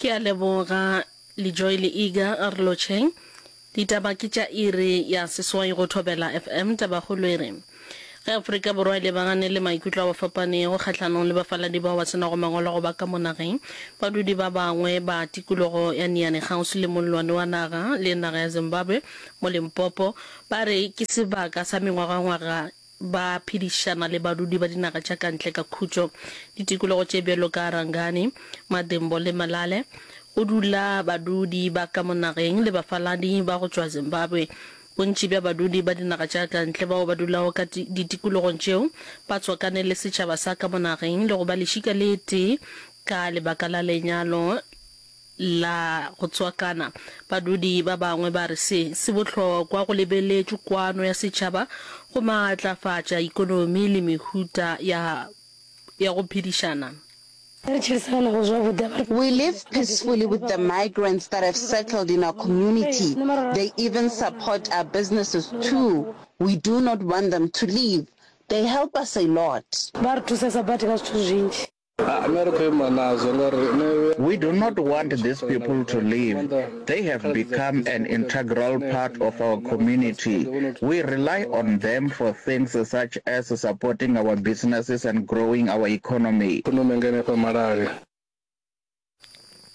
Ke a leboga Lejoy le Iga, a re lotšheng. Ditaba ke tša iri ya seswai go Thobela FM. Tabakgolo e re, Ge Afrika Borwa e lebagane le maikutlo a fapanego kgahlanong le bafaladi bao ba se nago mangwalo a go ba ka mo nageng, badudi ba bangwe ba tikologo ya Niani kgauswi le mollwane wa naga le naga ya Zimbabwe mo Limpopo ba re ke sebaka sa mengwagangwaga ba phedišana le badudi ba dinaga tša ka ntle ka khutšo. Ditikologo tše bjalo ka Rangani, Madimbo le Malale, go dula badudi ba ka mo nageng le bafaladi ba go tšwa Zimbabwe. Bontši bja badudi ba dinaga tša ka ntle bao ba dulago ka ditikologong tšeo ba tswakane le setšhaba sa ka mo nageng le go ba lešika le tee ka lebaka la lenyalo la go tswakana. Badudi ba bangwe ba re se se bohlokwa go lebeletšwe kwano ya setšhaba go maatlafatša ikonomi le mehuta ya ya go phedišana. We live peacefully with the migrants that have settled in our community. They even support our businesses too. We do not want them to leave. They help us a lot. Ba re thusesa badi ka zwithu zwinzhi. We do not want these people to leave. They have become an integral part of our community. We rely on them for things such as supporting our businesses and growing our economy.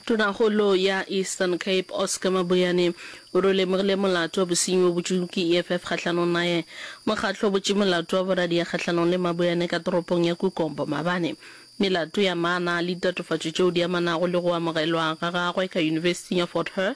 Tonakgolo ya Eastern Cape Oscar Mabuyane o re o lemogile molato wa bosenyi wo botšwego ke EFF kgahlanong naye. Mokgatlo o botše molato wa boradia kgahlanong le Mabuyane ka toropong ya Kukombo maabane. Melato ya maana le ditatofatšo tšeo di amanago le go amogelwa ga gagwe ka Yunibesithing ya Fort Hare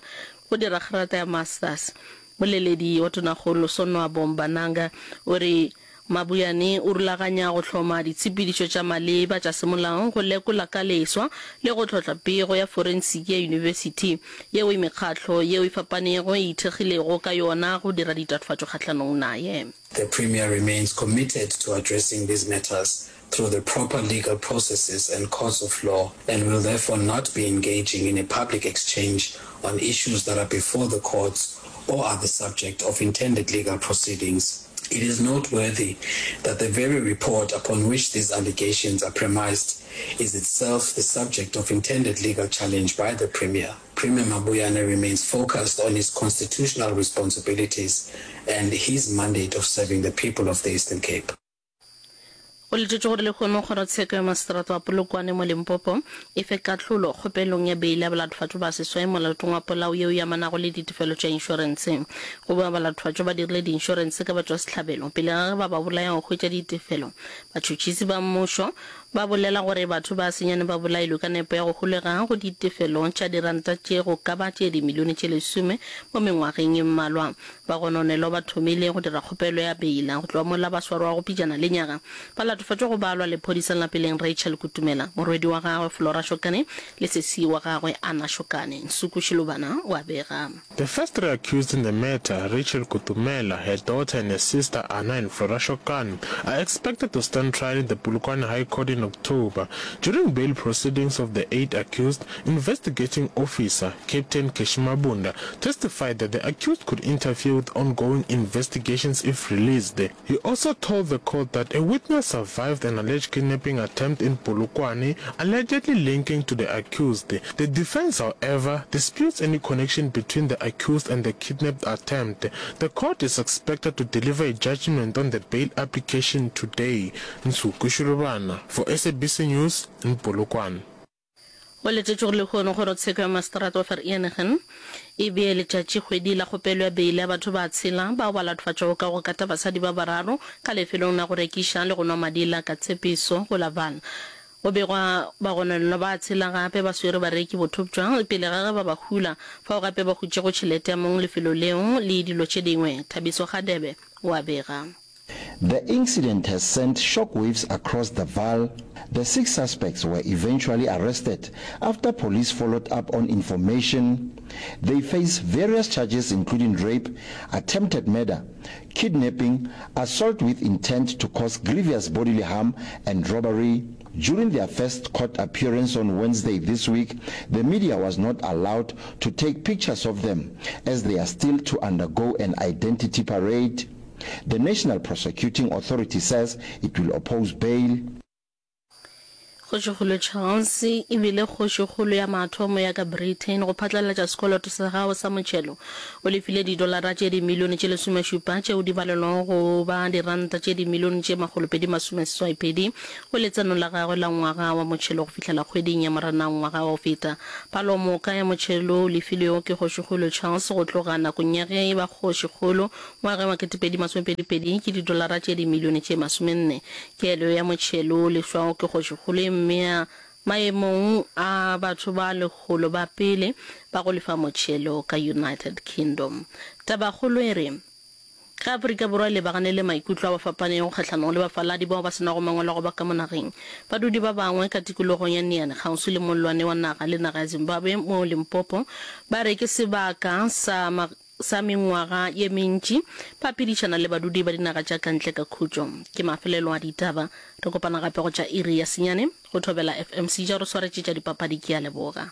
go dira kgrata ya Masters. Moleledi wa Tonakgolo Sonwabo Mbananga o re Mabuyane o rulaganya go hloma ditshepedišo tša maleba tša semolao go lekola ka leswa le go tlhotla pego ya forensiki ya yunibesithi yeo e mekgatlo yeo e fapanego e ithekgilego ka yona go dira ditatofatšo kgahlanong naye. The Premier remains committed to addressing these matters through the proper legal processes and courts of law and will therefore not be engaging in a public exchange on issues that are before the courts or are the subject of intended legal proceedings. It is noteworthy that the very report upon which these allegations are premised is itself the subject of intended legal challenge by the Premier. Premier Mabuyane remains focused on his constitutional responsibilities and his mandate of serving the people of the Eastern Cape. Go letetšwe gore lehono kgorotsheko ya maseterata wa Polokwane mo Limpopo e fe kahlolo kgopelong ya beile ya balathofatšo ba seswai molatong wa polao yeo e amanago le ditefelo tša inšorense. Go boa balathofatšo ba dirile diinšorense ka batšwasehlabelo pele ga ge ba ba bolaya go hwetša ditefelo. Batšhotšhisi ba mmušo ba bolela gore batho ba senyane ba bolailwe ka nepo ya go holega go ditefelo tša diranta tše go ka ba tše dimilione tše lesome mo mengwageng e mmalwa. Bagononelwa ba thomile go dira kgopelo ya beila go tloga mola ba swarwago pejana lenyaga. Ba latofatšwa go balwa lephodisa la peleng Rachel Kutumela, morwedi wa gagwe Flora Shokane le sesi wa gagwe Anna Shokane. Nsuku Shilubana o a bega. The first three accused in the matter, Rachel Kutumela, her daughter and her sister Anna and Flora Shokane, are expected to stand trial in the Polokwane High Court in October. During bail proceedings of the eight accused, investigating officer Captain Keshi Mabunda testified that the accused could interfere with ongoing investigations if released. He also told the court that a witness survived an alleged kidnapping attempt in Polokwane, allegedly linking to the accused. The defense, however, disputes any connection between the accused and the kidnapped attempt. The court is expected to deliver a judgment on the bail application today. Nsuku Shilubana for SABC News in Polokwane. Go letetšwe gore lehono kgorotsheko ya maseterata wa Vereeniging e bee letšatšikgwedi la kgopelo ya beile ya batho ba tshela bao ba latofatšwago ka go kata basadi ba bararo ka lefelong la go rekiša le go nwa madila ka tshepiso go la Vaal. Go begwa bagononelwa ba tshela gape ba swere bareki bothoptšwa pele ga ge ba ba hula, fao gape ba hutšego tšhelete ya mong lefelo leo le dilo tše dingwe. Thabiso Kgadebe o a bega. The incident has sent shockwaves across the Vaal. The six suspects were eventually arrested after police followed up on information. They face various charges including rape, attempted murder, kidnapping, assault with intent to cause grievous bodily harm and robbery. During their first court appearance on Wednesday this week, the media was not allowed to take pictures of them as they are still to undergo an identity parade. The National Prosecuting Authority says it will oppose bail. Kgošikgolo Charles e bile kgošikgolo ya mathomo ya ka Britain go phatlalatša sekoloto sa gagwe sa motšhelo. O lefile didolara tše dimilione tše lesomešupa tšeo di balelwago go ba diranta tše dimilione tše makgolopedimasomeseswaipedi go letseno la gagwe la ngwaga wa motšhelo go fihlela kgweding ya Moranang ngwaga wa go feta. Palomoka ya motšhelo o lefilwego ke Kgošikgolo Charles go tloga nakong ya ge e ba kgošikgolo Ngwageng wa 2022 ke didolara tše dimilione tše masomenne. Kelo ya motšhelo o lefšwago ke kgošikgolo e mmea maemong a batho ba lekgolo ba pele ba go lefa motšhelo ka United Kingdom. Tabakgolo e re, Ge Afrika Borwa e lebagane le maikutlo a fapanego kgahlanong le bafaladi bao ba se nago mangwalo a go ba ka mo nageng, badudi ba bangwe ka tikologong ya Niani kgauswi le mollwane wa naga le naga ya Zimbabwe mo Limpopo ba re ke sebaka sa sa mengwaga ye mentši ba phedišana le badudi ba dinaga tša ka ntle ka khutšo. Ke mafelelo a ditaba. Re kopana gape go tša iri ya senyane go Thobela FM. Seja o re swaretše tša dipapadi. Ke a leboga.